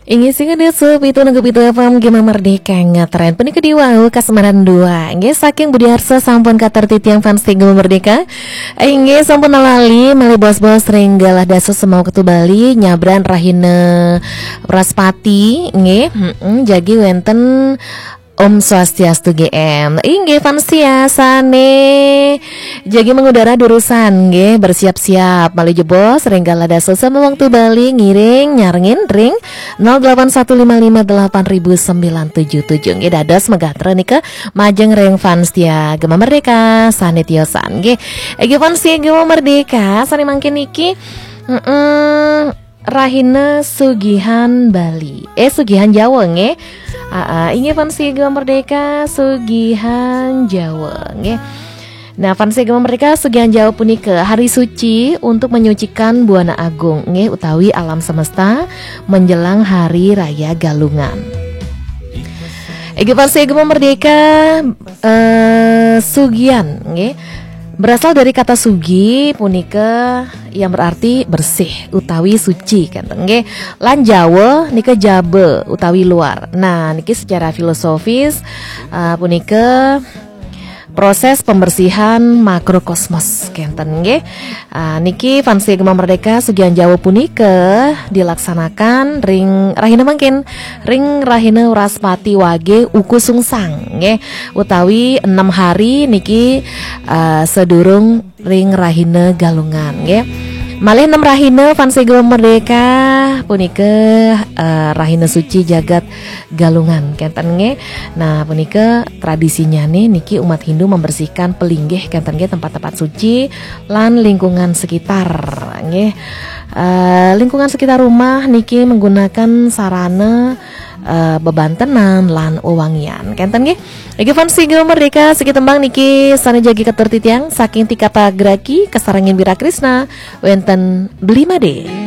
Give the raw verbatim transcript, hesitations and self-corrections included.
Inggih, sing ada sup itu nunggu itu apa Gema Merdeka ngetren. Punika diwau kasmaran dua. Inggih, saking Budi Arsa sampun katur titiang fans Gema Merdeka. Inggih, sampun lali malih bos-bos ring galah dasa semua ketu Bali nyabran rahina Wraspati. Inggih, mm-mm, jagi wenten Om Swastiastu G M. Inggih, fans ya, sane jagi mengudara durusan nggih, bersiap-siap malih jebos ring galah dasa semua waktu Bali ngiring nyarengin ring nol delapan satu lima lima delapan ribu sembilan tujuh tujuh. Nggih, dados megatra nika majeng ring fans ya Gema Merdeka sane tiosan nggih. Inggih, fans ya Gema Merdeka sane mangkin niki, mm-mm, Rahina Sugihan Bali. Eh, Sugihan Jawa nggih. Ah, ah, inggih, fans Gema Merdeka Sugihan Jawa nggih. Nah, fans Gema Merdeka Sugihan Jawa punika hari suci untuk menyucikan Buana Agung nggih utawi alam semesta menjelang hari raya Galungan. Inggih, fans Gema Merdeka, eh, Sugihan nggih. Berasal dari kata sugi punika yang berarti bersih utawi suci kenten nggih. Lan Jawa nika jaba utawi luar. Nah, niki secara filosofis, eh, punika proses pembersihan makrokosmos kenten nggih. Ah, niki fans Gema Merdeka Sugihan Jawa punika dilaksanakan ring rahina mangkin, ring rahina Wraspati Wage Uku Sungsang nggih, utawi enam hari niki, ah, sedurung ring rahina Galungan nggih. Malih enam rahina fans Gema Merdeka punika, eh, rahina suci jagat Galungan kenten nggih. Nah, punika tradisinya nih niki umat Hindu membersihkan pelinggih kenten nggih, tempat-tempat suci lan lingkungan sekitar nggih. Eh, lingkungan sekitar rumah niki menggunakan sarana, eh, bebantenan lan wewangian kenten nggih. Inggih, fans Gema Merdeka, siki tembang niki sane jagi katur titiang saking Tika Pagraki kasarengin Wira Krisna wenten Beli Made.